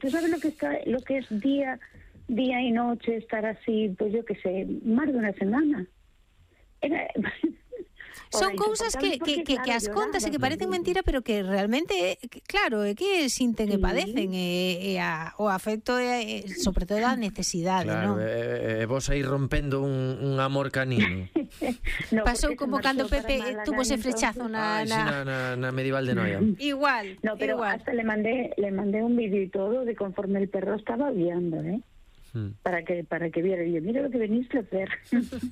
Tú sabes lo que es día y noche, estar así, pues yo qué sé, más de una semana. Son cousas que as contas e que parecen mentira, pero que realmente, claro, é que sinten e padecen, o afecto é, sobre todo, a necesidade, claro, non? Vos aí rompendo un amor canino. No, pasou como cando Pepe tuvo ese flechazo na medieval de Noia. Igual, no, pero igual. Hasta le mandé un vídeo y todo de conforme el perro estaba guiando, para que viera. Y yo, mira lo que veniste a hacer.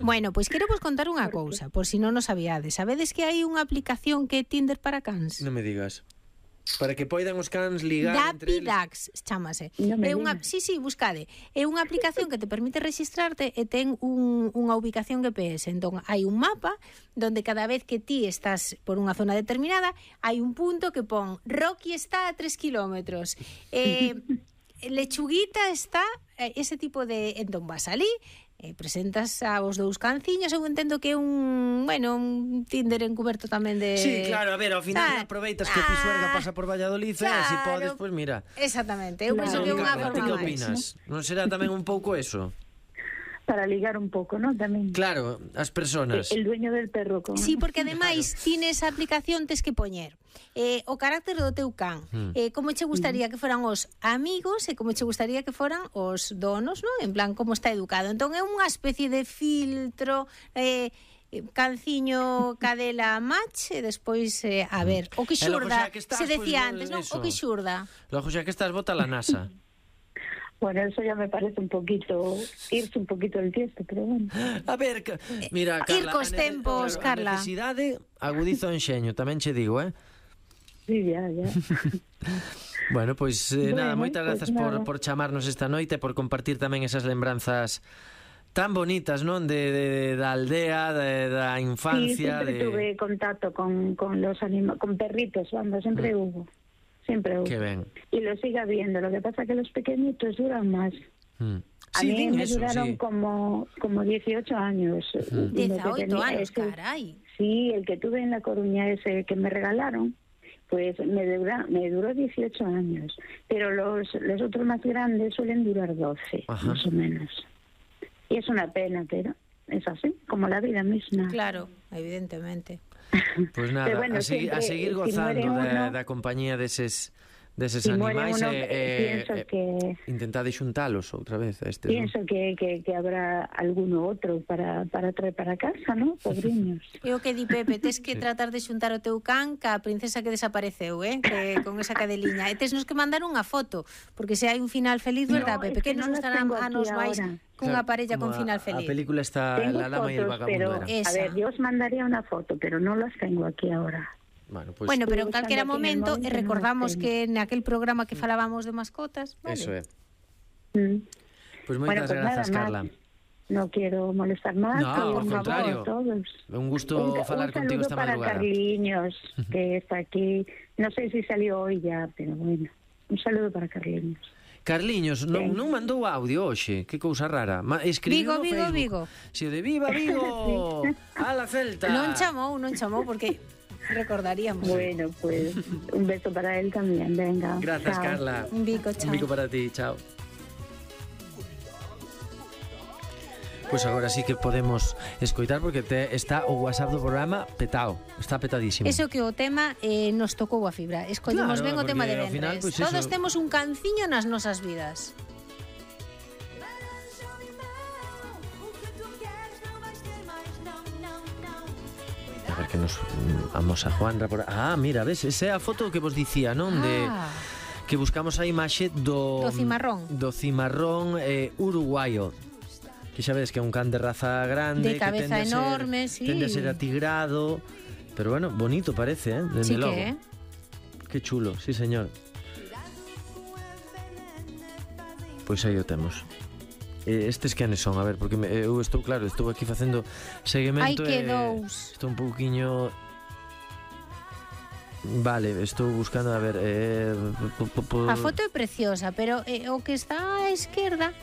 Bueno, pois quero vos contar unha cousa, por si non o sabíades. Sabedes que hai unha aplicación que é Tinder para cans? Non me digas. Para que poidan os cans ligar entre eles. Dapidax chámase. No É unha, sí, buscade. É unha aplicación que te permite registrarte e ten unha ubicación GPS. Entón, hai un mapa donde cada vez que ti estás por unha zona determinada, hai un punto que pon Rocky está a 3 kilómetros. Lechuguita está, ese tipo de... Entón vas ali, presentas aos dous canciños. Eu entendo que é un Tinder encuberto tamén de... Sí, claro, a ver, ao final aproveitas que Pisuerga pasa por Valladolid, claro, se podes, pois mira. Exactamente, eu penso que é unha forma que máis. opinas? Non será tamén un pouco eso? Para ligar un pouco, ¿no? Tamén. Claro, as personas. El dueño del perro. Sí, porque ademais tines a aplicación, tes que poñer o carácter do teu can, como che gustaría que foran os amigos e como che gustaría que foran os donos, ¿no? En plan, como está educado. Entón é unha especie de filtro, canciño, cadela, match, e despois, a ver, o que xurda, se decía antes, non? O que xurda. Logo xa que estás, bota la NASA. Bueno, eso ya me parece un poquito, irse un poquito del tiesto, pero bueno. A ver, mira, Carla, ir cos tempos, Carla. A necesidade agudiza o enxeño, tamén che digo, Sí, ya. Bueno, pois nada, moitas grazas por chamarnos esta noite, por compartir tamén esas lembranzas tan bonitas, non? Da aldea, da infancia. Sí, siempre tuve contacto con los con perritos, siempre hubo. Siempre hubo. Qué ben. Y lo sigue habiendo. Lo que pasa es que los pequeñitos duran más. A mí me duraron como 18 años. 18 años, caray. Sí, el que tuve en La Coruña, ese que me regalaron, pues me duró 18 años. Pero los otros más grandes suelen durar 12, más o menos. Y es una pena, pero es así, como la vida misma. Claro, evidentemente. Pois nada, bueno, a seguir gozando da compañía deses animais intentade xuntalos outra vez a estes. Pienso que habrá alguno outro para traer para casa, ¿no? Pobriños. E o que di Pepe, tes que tratar de xuntar o teu can ca princesa que desapareceu, que con esa cadeliña. E tes nos que mandar unha foto, porque se hai un final feliz, verdad, Pepe? Que nos gustarán a nos máis cunha parella con final feliz. A película está La Dama y el Vagabundo. A ver, yo os mandaría una foto, pero no las tengo aquí ahora. Bueno, pero en calquera momento, e recordamos que naquel programa que falábamos de mascotas, vale? Eso é. Pois moitas grazas, Carla. No quiero molestar más. No, por contrario. Un gusto falar contigo esta madrugada. Un saludo para Carliños, que está aquí. No sé si salió hoy ya, pero bueno. Un saludo para Carliños. Carliños, non mandou audio hoxe, que cousa rara. Escribiu no Facebook. Vigo. Si o de Viva Vigo, a la Celta. Non chamou, porque recordaríamos. Bueno, pues un beso para él también, venga. Gracias, chao. Carla. Un bico, chao. Un bico para ti, chao. Pois agora sí que podemos escoitar porque está o WhatsApp do programa petado, está petadísimo. Eso que o tema nos tocou a fibra. Escollemos ben o tema de venres. Final, pues todos temos un canciño nas nosas vidas. A ver que nos vamos a Juanra por... mira, ves, esa é a foto que vos dicía, non? De que buscamos a imaxe do cimarrón. Do cimarrón uruguayo. Que xa ves que é un can de raza grande, de cabeza que enorme, sí. Tende a ser atigrado, pero bueno, bonito parece, desde logo. Que que chulo, sí señor. Pois aí o temos. Estes quenes son, a ver, porque eu estou aquí facendo seguimento. Hai que dous. Estou un pouquiño... Vale, estou buscando, a ver... A foto é preciosa, pero o que está á esquerda...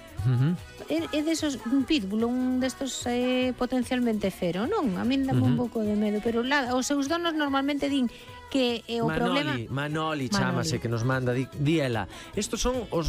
É desos, un pitbull, un destos potencialmente fero, non? A min dame un pouco de medo, pero os seus donos normalmente din que o problema... Manoli, chámase, que nos manda, di ela. Estos son os